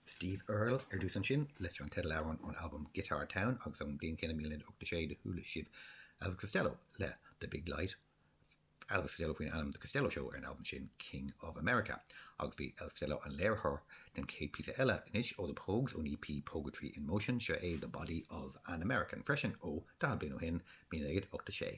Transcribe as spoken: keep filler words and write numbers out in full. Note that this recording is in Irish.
Steve Earle ar dtús ansin leis an teideal ón albam Guitar Town agus an bliain céanna míle ocht sé do chuala sibh Elvis Costello le The Big Light Elvis Costello faoin ainm The Costello Show ar an albam sin King of America agus bhí Elvis Costello an léiritheoir den chéad píosa eile anois ó The Pogues ón EP Poguetry in Motion seo é The Body of an American freisin ó daichead bliain ó shin míle ocht sé.